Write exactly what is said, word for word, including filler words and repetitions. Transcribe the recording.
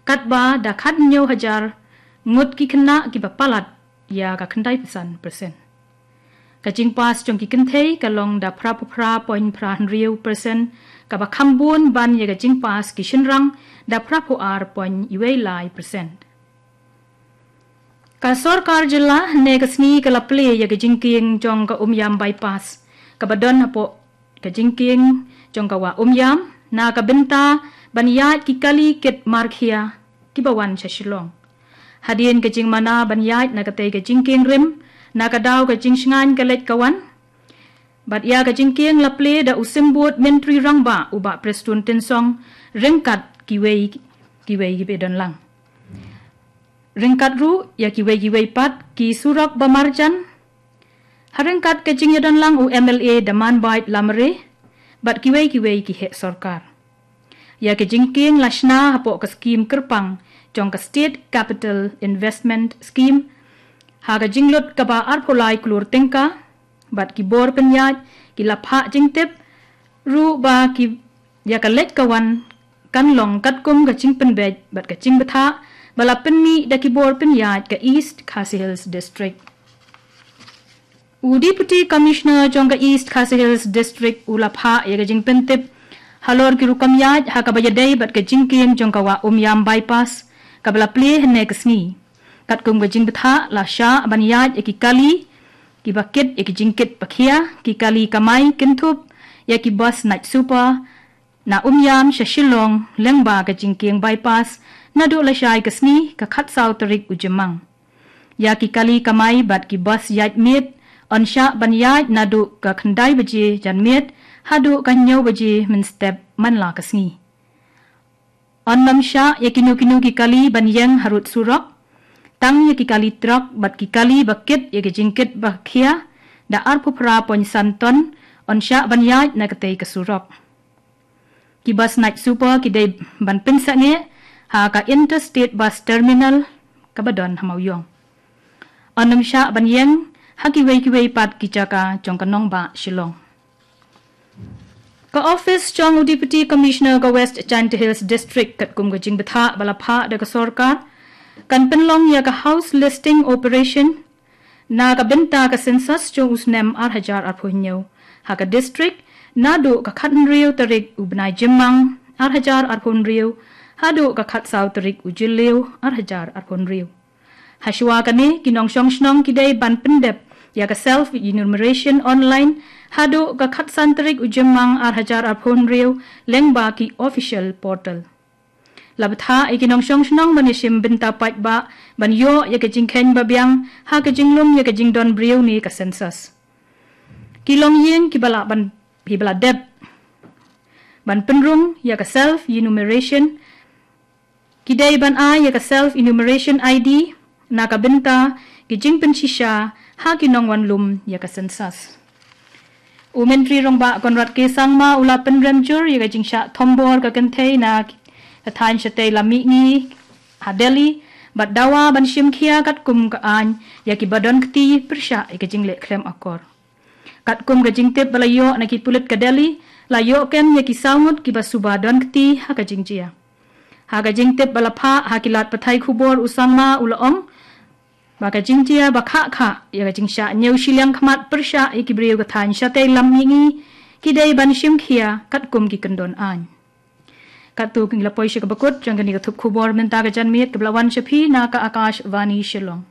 katba da khathynñiew hajar ngut ki khynnah kiba palat ïa ka khyndai phew san percent. Ka jingpass jong ki kynthei ka long da phra phew phra point phra hynriew percent, kaba kham bun ban ïa ka jingpass ki shynrang da phra phew ar point wei lai percent. Ka sorkar jylla hynne ka sngi ka la plie ïa ka jingkieng jong ka Umiam Bypass, kaba don hapoh ka jingkieng jong ka Wah Umiam, na ka bynta ban ïaid ki kali kit markhia kiba wan sha Shillong. Hadien ka jingmana ban ïaid na katei ka jingkieng rim, na ka daw ka jingshngaiñ ka leit ka wan, bad ïa ka jingkieng la plie da u Symbud Myntri Rangbah u Bah Prestone Tynsong, ryngkat kiwei kiwei kiba don lang. Ryngkat ruh ïa kiwei kiwei pat ki surok ba marjan, ha ryngkat ka jingïadon lang u M L A Damanbait Lamare bad kiwei kiwei ki heh sorkar. Ïa ka jingkieng la shna hapoh ka skhim kyrpang jong ka State Capital Investment Scheme ha ka jinglut kaba arphew lai klur tyngka, bad ki bor pynïaid ki la phah jingtip ruh ba ki ïa ka leit ka wan kan long katkum ka jingpynbeit bad ka jingbthah ba la pynmih da ki bor pynïaid ka East Khasi Hills District. U Deputy Commissioner jong ka East Khasi Hills District u la phah ïa ka jingpyntip halor ki rukom ïaid ha kaba ïadei bad ka jingkieng jong ka Wah Umiam Bypass, kaba la plie hynne ka sngi. Katkum ka jingbthah la shah ban ïaid ïa ki kali kiba kit ïa ki jingkit ba khia, ki kali kamai kynthup ïa ki bus Night Super na Umiam sha Shillong lyngba ka jingkieng bypass naduh lashai ka sngi ka khatsaw tarik u Jymmang. Ïa ki kali kamai bad ki bus ïaid miet yn shah ban ïaid naduh ka khyndai baje janmiet haduh ka hynñiew baje mynstep man la ka sngi. Yn nym shah ïa kino kino ki kali ban ïeng harud surok. Tang ïa ki kali trok bad ki kali ba kit ïa ki jingkit ba khia da arphew phra point san ton yn shah ban ïaid na katei ka surok. Ki bus Night Super ki dei ban pynsangeh ha ka Interstate Bus Terminal kaba don ha Mawïong. Yn nym shah ban ïeng ha kiwei kiwei pat ki jaka jong ka nongbah Shillong. Ka office jong u Deputy Commissioner ka West Jaintia Hills District katkum ka jingbthah ba la phah da ka sorkar kan pynlong ïa ka house listing operation na ka bynta ka census jong u snem ar hajar arphew hynñiew ha ka district naduh ka khathynriew tarik u bnai Jymmang ar hajar arphew hynriew haduh ka khatsaw tarik u Jylliew ar hajar arphew hynriew. Hashwa kane ki nongshong shnong ki dei ban pyndep ïa ka self enumeration online haduh ka khatsan tarik u Jymmang ar hajar arphew hynriew lyngba ki official portal. La bthah ïa ki nongshong shnong ban ïashim bynta paidbah ban ïoh ïa ka jingkheiñ babiang ha ka jinglum ïa ka jingdon briew ne ka census. Ki longïing kiba la ban kiba la dep ban pynrung ïa ka self enumeration ki dei ban ai ïa ka self enumeration I D na ka bynta ki jingpynshisha ha ki nongwan lum ïa ka census. U Myntri Rangbah Conrad K Sangma u la pynrem jur ïa ka jingshah thombor ka kynthei na ka thaiñ shatei lam mihngi ha Delhi bad dawa ban shim khia katkum ka aiñ ïa kiba don kti pyrshah ïa ka jingleh khlem akor. Katkum ka jingtip ba la ïoh na ki pulit ka Delhi, la ïoh kem ïa ki saw ngut kiba suba don kti ha ka jingjia. Ha ka jingtip ba la phah ha ki lad pathai khubor u Sangma u la ong ba ka jingjia ba khah khah ïa ka jingshah ñiew shiliang khmat pyrshah ïa ki briew ka thaiñ shatei lam mihngi ki dei ban shim khia katkum ki kyndon aiñ. Katto ki la poi sha kaba kut jong kane ka thup khubor mynta ka janmiet kaba la wan sha phi na ka Akashvani Shillong.